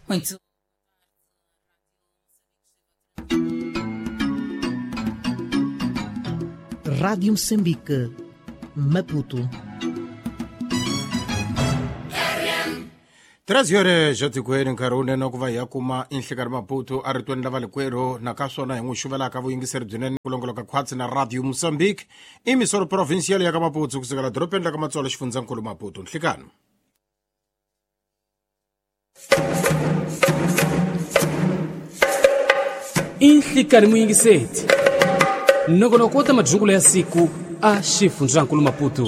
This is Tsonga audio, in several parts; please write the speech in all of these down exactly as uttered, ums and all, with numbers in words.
Muito. Rádio Moçambique, Maputo. treze horas ja tikweni nkarhi wunene ku va hi ya kuma inhlekani Maputo a ritweni la valikwerhu na ka swona hi n'wi xuvelaka vuyingiseri byinene ku longoloka khwatsi na Radio Mozambique i misoro provincial ya ka Maputo kusukela dorobeni la ka Matsolo xifundzankulu Maputo. Nhlikani. Inhlikani muyingiseti nongonoko wa ta madzukulo ya siku a xifundzankulu Maputo.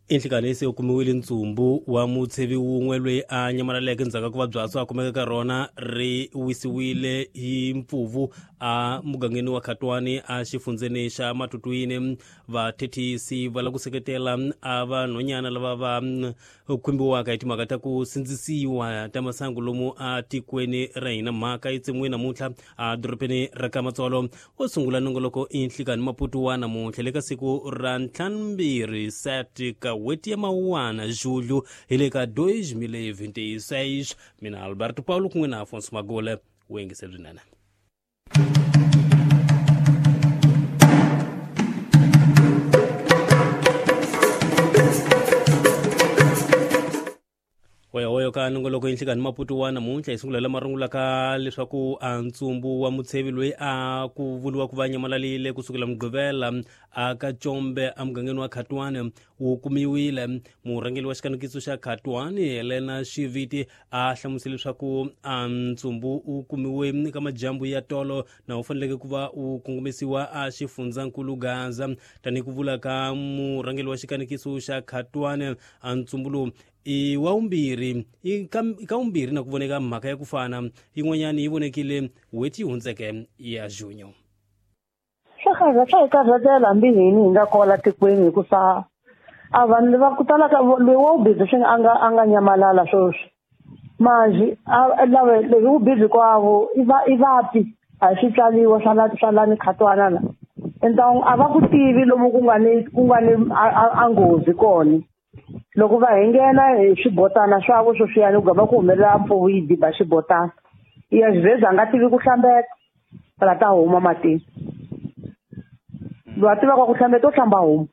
Inhlikani se u kumiwile ntsumbu wa mutshevi wun'we loyi a nyamalaleke ndzhaku ka ku va byatso a kumeka ka rona ri wisiwile hi mpfuvu a mugangeni wa Khatwani a xifundzeni xa Matutuine. Vathethisi va lava ku seketela a vanhwanyana lava va khumbiwaka hi timhaka ta ku sindzisiwa ta masangu lomu a tikweni ra hina. Mhaka yi tsemiwe namuntlha a dorobeni ra ka Matsolo. Wo sungula nongoloko Inhlikani Maputo wa namuntlha le ka siku ra ntlhanumbirhi seti ka weti ya Mawuwana Julho hi le ka dois mil e vinte e seis. Mina Alberto Paulo kun'we na Afonso Magole wu yingise byinene. Hoyohoyo ka nongoloko Inhlikani Maputo wa namuntlha hi sungulela marungula ka leswaku a ntsumbu wa mutshevi loyi a ku vuriwa ku va nyamalalile kusukela Mugqivela a ka Tshombe emugangeni wa Khatwani wu kumiwile. Murhangeri wa xikanekiso xa Khatwani Helena Xiviti a hlamusele leswaku a ntsumbu wu kumiwe ka majambu ya tolo na wu faneleke ku va wu kongomisiwa a xifundzankulu Gaza. Tanihi ku vula ka murhangeri wa xikanekiso xa Khatwani, a ntsumbu lowu i wa vumbirhi i ka ka vumbirhi na ku voneka mhaka ya ku fana yin'wanyana yi vonekile n'hweti yi hundzeke ya junho. Swa karhata swa hi karhatela hambi hini hi nga kwala tikweni hikusa a vanhu va ku tala ka loyi wa wu busy swi a nga a nga nyamalala sweswi manjhe a lava loyi wu busy kwavo i va i vapi a hi swi tswaliwa swa la swa lani Khatwana la enta a va ku tivi lomu ku nga ni ku nga ni a nghozi kona. Loko va hi nghena hi swibotana swavo sweswiyani ku gama ku humelela mpfuvu yi diba xibotana ya xivheza a nga tivi ku hlambeta la ta huma matini. Loyi a tivaka ku hlambeta u hlamba huma.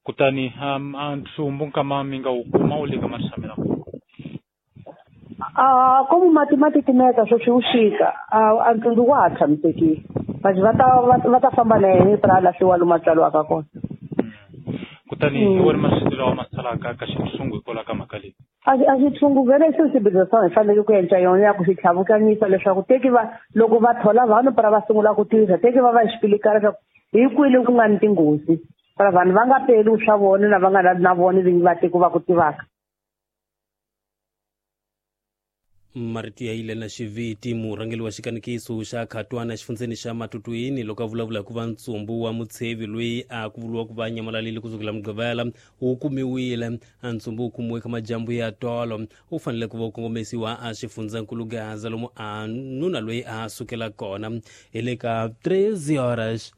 Kutani um, a ntsumbu nkama mi nga wu kuma wu le ka matshamela a komu mati ma titimeta sweswi wu xika a ntsumbu wa ha tshamisekile manje va ta va ta famba na yena pra lahliwa lomu a tswariwaka kona. Kutani hi wona masiku lawa ma salaka ka xitshungu hikwalaho ka mhaka leyi a a xitshungu vele se xibedhlele swa hi fanele ku endla yona ya ku xi tlhavukanyisa leswaku teki va loko va thola vanhu para va sungula ku tirha teki va va xipilikana leswaku hi kwini ku nga ni tinghozi para vanhu va nga peli swa vona na va nga na vona vinyi va tiko va ku tivaka. Marito ya Helena Xiviti murhangeri wa xikanekiso xa Khatwana xifundzeni xa Matutuini loko a vulavula ku va ntsumbu wa mutshevi loyi a ku vuriwa ku va nyamalalile kusukela Mugqivela wu kumiwile. A ntsumbu wu kumiwe ka majambu ya tolo wu fanele ku va wu kongomisiwa a xifundzankulu Gaza lomu a nuna loyi a sukela kona hi le ka treze horas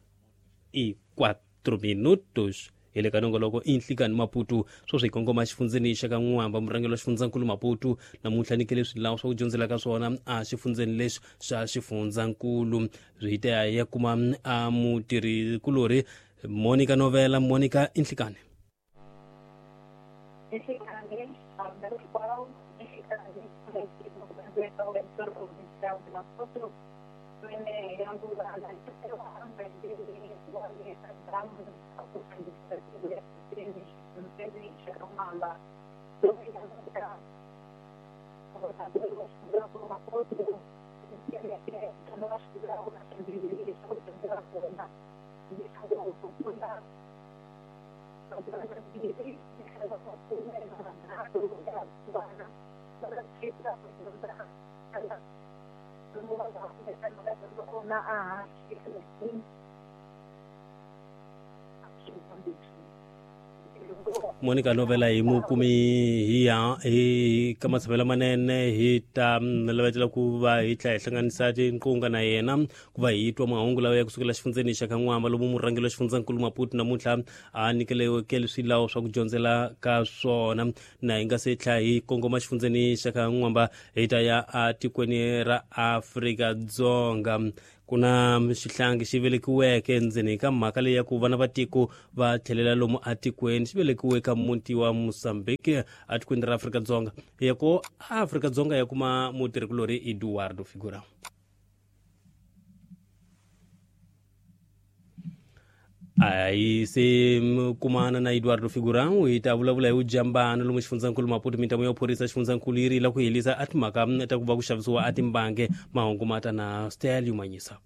e quatro minutos. Hi le ka nongoloko Inhlikani Maputo sweswi hi kongoma xifundzeni xa ka N'wamba. Murhangeri wa xifundzankulu Maputo namuntlha nyikele swilawu swa ku dyondzela ka swona a xifundzeni lexi xa xifundzankulu. Swi ta ya kuma a mutirhikulorhi Monica Novela. Monica, Inhlikani. Monica Novela hi mukumi hi ya hi ka matshemelo manene hi ta lavetela ku va hi tlhela hi hlanganisa tinqunga na yena ku va hi twa mahungu lawa ya kusukela xifundzeni xa ka N'wamba lomu murhangeri wa xifundzankulu Maputo namuntlha a nyikeliweke swilawo swa ku dyondzela ka swona. Na hi nga se tlhela hi kongoma xifundzeni xa ka N'wamba hi ta ya atikweni ra Afrika-Dzonga. Kuna xihlangi xi velekiweke endzeni ka mhaka leyi ya ku vana va tiko va tlhelela lomu atikweni xi velekiwe ka muti wa Mozambique atikweni ra Afrika-Dzonga. Ya ku Afrika-Dzonga ya kuma mutirhikulori Eduardo Figura. Ayi se kumana na Eduardo Figura hi ta vulavula hi vujambano lomu xifundzankulu Maputo. Mintamu ya phorisa xifundzankulu yi rila ku helisa a timhaka ta ku va ku xavisiwa a timbange. Mahungu ma ta na Stelio Manyisa.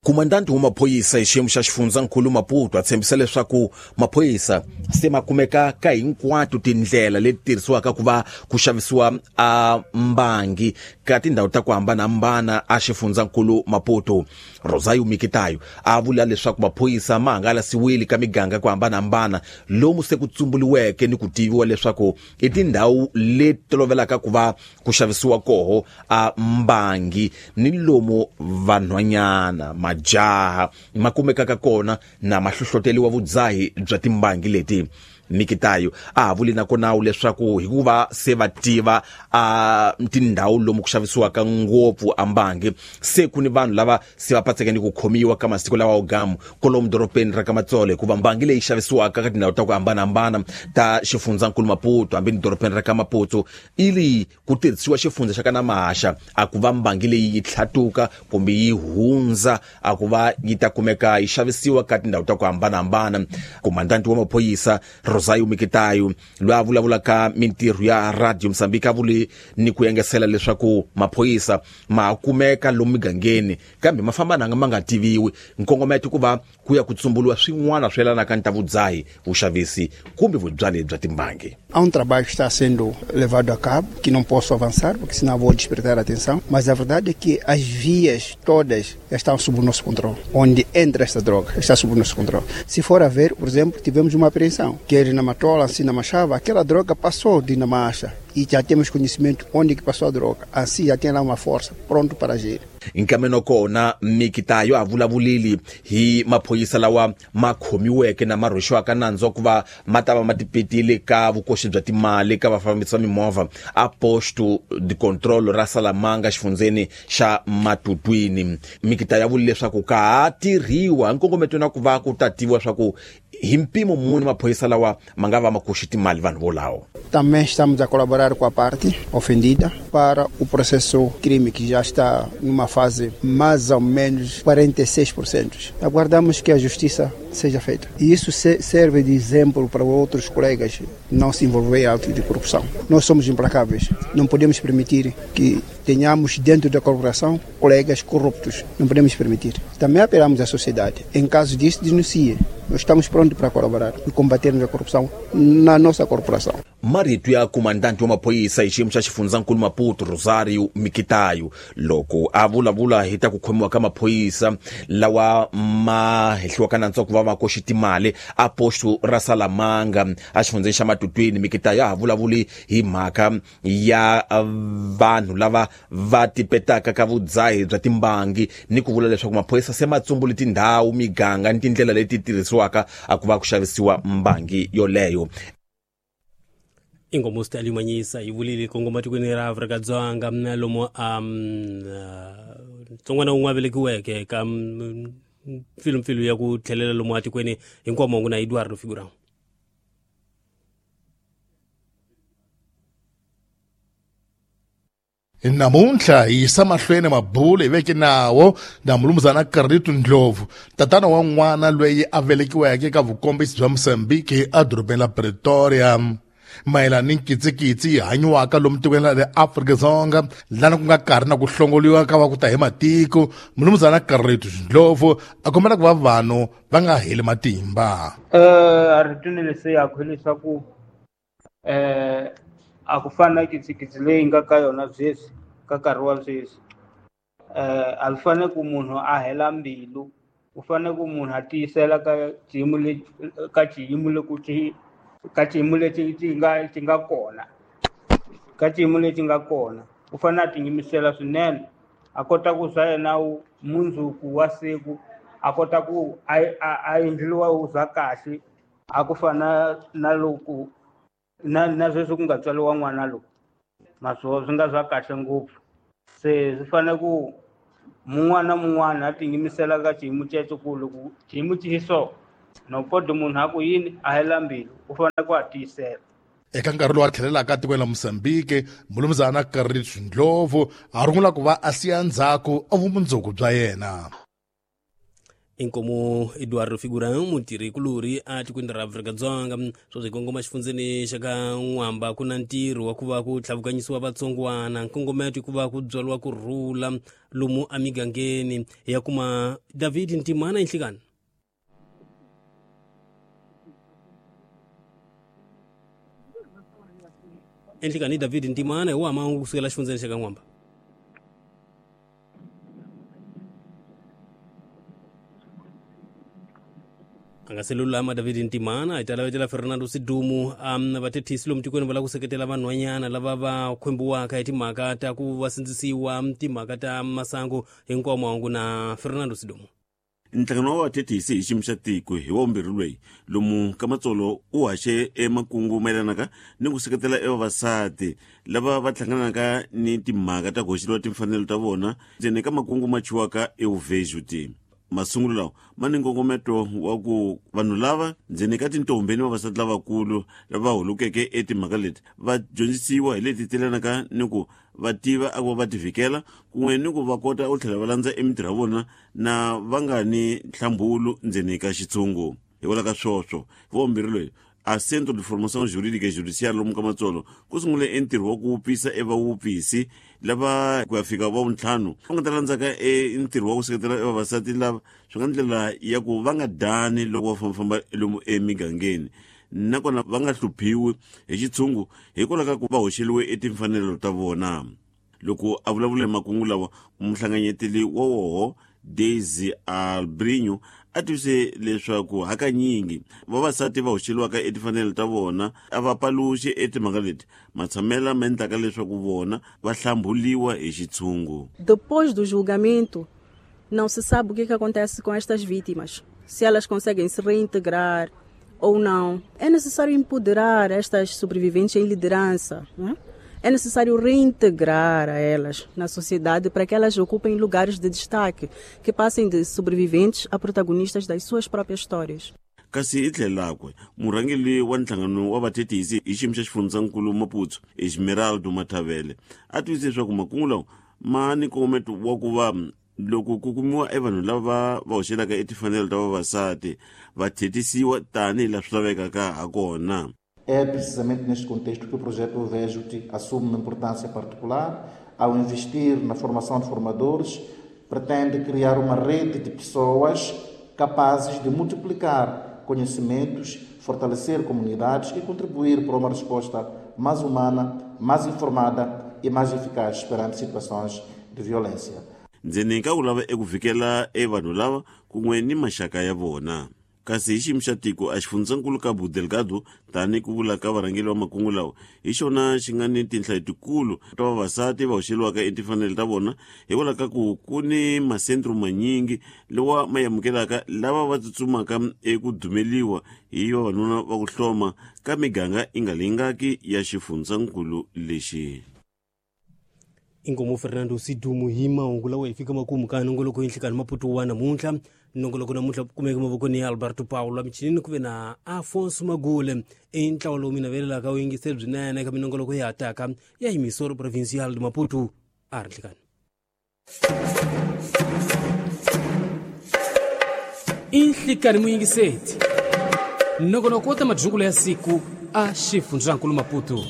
Kumandanti wa maphorisa hi xiyimo xa xifundzankulu Maputo a tshembisa leswaku maphorisa se ma kumeka ka hinkwato tindlela leti tirhisiwaka ku va ku xavisiwa a mbangi ka tindhawu ta ku hambanahambana a xifundzankulu Maputo. Rosario Mikitayo a vula leswaku maphorisa ma hangalasiwile ka miganga ku hambanahambana lomu se ku tsumbuliweke ni ku tiviwa leswaku i tindhawu leti tolovelaka ku va ku xavisiwa koho a mbangi ni lomu vanhwanyana majaha ma kumekaka kona na mahlohloteliwa vudzahi bya timbangi leti. Mikitayo a vuli na kona leswaku hikuva se va tiva a tindhawu lomu ku xavisiwaka ngopfu a mbangi se ku ni vanhu lava se va patseke ni ku khomiwa ka masiku lawa gamu kolomu doropeni ra ka Matsolo, hikuva mbangi leyi xavisiwaka ka tindhawu ta ku hambanahambana ta xifundzankulu Maputo hambi ni doropeni ra ka Maputo ili ku tirhisiwa xifundza xa ka Namaxa a ku va mbangi leyi yi tlhatuka kumbe yi hundza a ku va yi ta kumeka yi xavisiwa ka tindhawu ta ku hambanahambana. Komandanti wa maphorisa Rosario Mikitayo loyi a vulavulaka mintirho ya Radio Mozambique a vule ni ku engesela leswaku maphorisa ma kumeka lomu migangeni kambe ma famba nanga ma nga tiviwi. Nkongometo ku va ku ya ku tsumbuliwa swin'wana swi yelanaka ni ta vudzahi, vuxavisi kumbe vubyali bya timbangi. Há um trabalho que está sendo levado a cabo, que não posso avançar, porque senão vou despertar a atenção, mas a verdade é que as vias todas estão sob o nosso controle. Onde entra esta droga está sob o nosso controle. Se for a ver, por exemplo, tivemos uma apreensão, que na Matola, assim na Machava, aquela droga passou de Namacha e já temos conhecimento onde que passou a droga. Assim já tem lá uma força pronto para agir. Nkameno kona Mikitayo a vulavulile hi maphorisa lawa ma khomiweke na ma rhwexiwaka nandzu wa ku va ma ta va ma tipetile ka vukoxi bya timali ka vafambisi va mimovha a posto de control ra Salamanga xifundzeni xa Matutwini. Mikitayo a vule leswaku ka ha tirhiwa nkongometo na ku va ku ta tiviwa swa ku hi mpimo muni maphorisa lawa ma nga va ma koxi timali vanhu volavo. Também estamos a colaborar com a parte ofendida para o processo crime que já está numa fase mais ou menos quarenta e seis por cento. Aguardamos que a justiça seja feita. E isso serve de exemplo para outros colegas não se envolver em atos de corrupção. Nós somos implacáveis. Não podemos permitir que tenhamos dentro da corporação colegas corruptos. Não podemos permitir. Também apelamos à sociedade. Em caso disso, denuncie. Nós estamos prontos para colaborar e combatermos a corrupção na nossa corporação. Marito ya komandante wa maphorisa hi xiyimo xa xifundzankulu Maputo Rosario Mikitayo loko a vulavula hi ta ku khomiwa ka maphorisa lawa ma hehliwaka nandzu wa ku va ma koxi timali a posto ra Salamanga a xifundzeni xa Matutwini. Mikitayo a ha vulavuli hi mhaka ya vanhu lava va tipetaka ka vudzahi bya timbangi ni ku vula leswaku maphorisa se ma tsumbule tindhawu, miganga ni tindlela leti tirhisiwaka a ku va ku xavisiwa mbangi yoleyo. Ingomo Stelio Manyisa yi vulile kongoma tikweni ra Afrika-Dzonga lomu a ntsongwana wun'we a velekiweke ka mpfilumpfilu ya ku tlhelela lomu atikweni hinkwawo mahungu na Eduardo Figura. Namuntlha hi yisa mahlweni mabulo hi veke nawo na mulumuzana Carlito Ndlovu, tatana wa n'wana loyi a velekiweke ka vukombisi bya Mozambique edorobeni la Pretoria, mayelana ni nkitsikitsi yi hanyiwaka lomu tikweni ra le Afrika-Dzonga lana ku nga karhi na ku hlongoliwa ka va ku ta hi matiko. Mulumuzana Carlito Ndlovu a kombela ku va vanhu va nga heli matimba. Eh aritini leswi hileswaku eh a ku fana na kitsikitsi leyi nga ka yona sweswi ka nkarhi wa sweswi eh a swi fanele ku munhu a hela mbilu U fanele ku munhu a tiyisela ka xiyimo lexi ka xiyimo loko xi ka xiyimo lexi xi nga xi nga kona ka xiyimo lexi nga kona u fanele a tiyimisela swinene a kota ku swa yena mundzuku wa siku a kota ku a a endliwa wu za kahle a ku fana na loko na na sweswi ku nga tswariwa n'wana lowu maswo swi nga swa kahle ngopfu se swi fanele ku mun'wana na mun'wana a tiyimisela ka xiyimo xexo ku loko xiyimo xi so no podi munhu a ku yini a hela mbilu u fanele ku a tiyisela. Eka nkarhi lowu a tlhelelaka etikweni la Mozambique, mulumuzana Carlitos Ndlovu a rungula ku va a siya ndzhaku a vumundzuku bya yena. Inkomo Eduardo Figurão mutirhi-kulorhi a tikweni ra Afrika-Dzonga sweswi kongoma xifundzeni xa ka N'wamba ku na ntirho wa ku va ku tlhavukanyisiwa vatsongwana nkongometo ku va ku byariwa ku rhula lomu emigangeni ya kuma David Ntimana Inhlikana. Enhlikani David Ntimana hi wa mahungu kusukela xifundzeni xa ka N'wamba. A nga se lulama David Ntimana hi ta lavetela Fernando Sidumu um vathethisi lomu tikweni va lava ku seketela vanhwanyana lava va khwembiwaka hi timhaka ta ku va sindzisiwa timhaka ta masangu hinkwawo mahungu na Fernando Sidumu. Nhlangano wa vathethisi hi xiyimo xa tiko hi wa vumbirhi loyi lomu ka Matsolo u haxe emakungu mayelanaka ni ku seketela evavasati lava va hlanganaka ni timhaka ta ku hoxeliwa timfanelo ta vona ndzeni ka makungu ma chiwaka euvejuti. Masungulo lawa ma ni nkongometo wa ku vanhu lava ndzeni ka tintombi ni vavasati lavakulu lava holukeke etimhaka leti va dyondzisiwa hi leti telanaka ni ku va tiva a ku va va ti vhikela kun'we ni ku va kota u tlhela va landza emitirho ya vona na va nga ni nhlambulu ndzeni ka xitshungu. Hikwalaho ka swoswo hi wa vumbirhi loyi a Centro de Formação Jurídica e Judiciária lomu ka Matsolo ku sungule entirho wa ku wupisa evawupisi lava ku ya fika va vuntlhanu va nga ta landzaka e ntirho wa ku seketela evavasati lava swi nga ndlela ya ku va nga dani loko va fambafamba lomu emigangeni nakona va nga hluphiwi hi xitshungu hikwalaho ka ku va hoxeliwe etimfanelo ta vona. Loko a vulavula hi makungu lawa muhlanganyeteli wa woho Daisy Albrinho a tivise leswaku hakanyingi vavasati va hoxeliwaka etimfanelo ta vona a va paluxi etimhaka leti matshamela ma endlaka leswaku vona va hlambuliwa hi xitshungu. Depois do julgamento, não se sabe o que que acontece com estas vítimas, se elas conseguem se reintegrar ou não. É necessário empoderar estas sobreviventes em liderança, não é? É necessário reintegrar a elas na sociedade para que elas ocupem lugares de destaque, que passem de sobreviventes a protagonistas das suas próprias histórias. Kasi hi tlhelakwe murhangeri wa nhlangano wa vathethisi hi xiyimo xa xifundzankulu Maputo Esmeraldo Mathavele a tivise leswaku makungu lawa ma ni nkongometo wa ku va loko ku kumiwa evanhu lava va hoxelaka etimfanelo ta vavasati va thetisiwa tanihi laha swi lavekaka ha kona. É precisamente neste contexto que o projeto Vejo-te assume uma importância particular. Ao investir na formação de formadores, pretende criar uma rede de pessoas capazes de multiplicar conhecimentos, fortalecer comunidades e contribuir para uma resposta mais humana, mais informada e mais eficaz perante situações de violência. Ndzeni ka ku lava eku vhikela evanhu lava kun'we ni maxaka ya vona. Kasi hi xiyimo xa tiko a xifundzankulu Cabo Delgado tani ku vula ka varhangeri va makungu lawa hi xona xi nga ni tinhla letikulu ta vavasati va hoxeliwaka etimfanelo ta vona hikwalaho ka ku ku ni masentro manyingi lawa ma amukelaka lava va tsutsumaka eku dumeliwa hi vavanuna va ku hloma ka miganga yi nga lingaki ya xifundzankulu lexi. Inkomo Fernando Sidumu hi mahungu lawa hi fika makumu ka nongoloko yinhlikani Maputo wa namuntlha. Nongoloko namuntlha kumeke mavokweni ya Alberto Paulo michinini ku ve na Afonso Magule i ntlawa lowu mi navelelaka wu yingiseri byinene eka minongoloko ya hataka ya Emissora Provincial de Maputo a ri nhlikani. Inhlikani muyingiseti nongonoko wa ta madzukulo ya siku a xifundzankulu Maputo.